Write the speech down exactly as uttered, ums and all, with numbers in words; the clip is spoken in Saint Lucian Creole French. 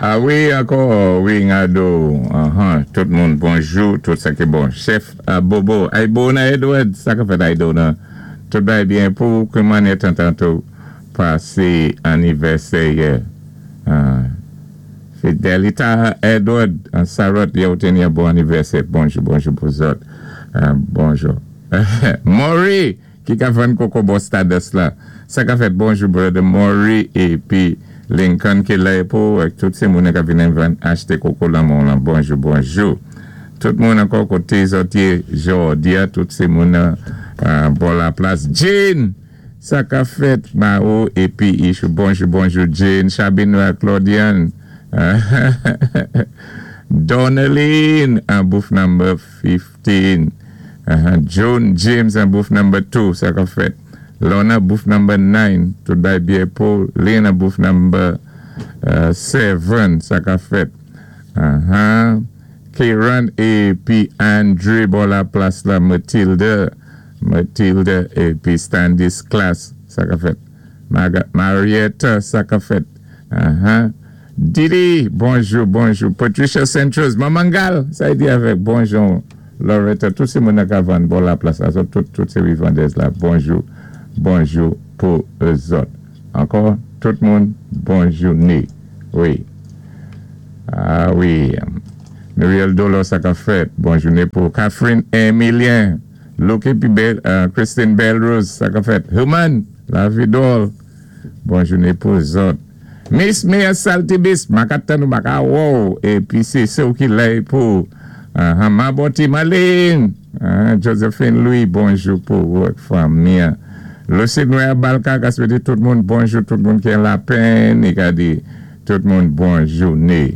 A wi, ankò, wi, Ngado, uh-huh. Tout moun, bonjou, tout sa ki bon. Chèf uh, Bobo, Aibona Edward, sa ka fèt Aibona. Tout bay byen pou kouman etan tanto pasé anivèsè yè. Uh, Fidelita Edward, an Sarot, yo teni yon bon anivèsè. Bonjou, bonjou pou zòt. Uh, bonjou. Maury, ki ka vann koko bò Stardust la. Sa ka fèt bonjou, brother Maury, épi Lincoln ki la pou, ak tout sé moun ka vin vann achté koko la moun lan. Bonjou, bonjou. Tout moun ankò koté zòt yé jòdi a, tout sé moun uh, bò la plas. Jane, sa ka fèt Mao épi Ishou. Bonjou, bonjou Jane. Chabino ak Claudiane. Donaline, an booth number fifteen. Uh-huh. Joan James, an booth number two, sa ka fèt. Lorna, booth number nine. Tout bay byen pou. Lena, booth number seven, sa ka fèt. Uh-huh. Kieran épi Andre bò la plas la, Matilda. Matilda épi Standis Class, sa ka fèt. Marietta, sa ka fèt. Uh-huh. Didi, bonjou, bonjou. Patricia Centros, Mamangal, sa y di avèk, bonjou. Loretta, tout sé moun ka vann bò la plas la, tout, tout sé vandèz la, bonjou, bonjou pou zòt. Ankò, tout moun, bonjou ni. Wi. A wi. Muriel Dolo, sa ka fèt, bonjou ni pou Catherine Emilien, Luke épi Bell, uh, Christine Belrose, sa ka fèt. Human, la Vidol, bonjou ni pou zòt. Miss Mia Saltibis, makata nou maka wow, épi sé sé ou ki la pou uh, Maboti Malin, uh, Josephine Louis, bonjou pou wòk fanmi. Lucide Noir Balka, ka swété tout moun bonjou, tout moun ki la pen, i ka di tout moun bonjou ni.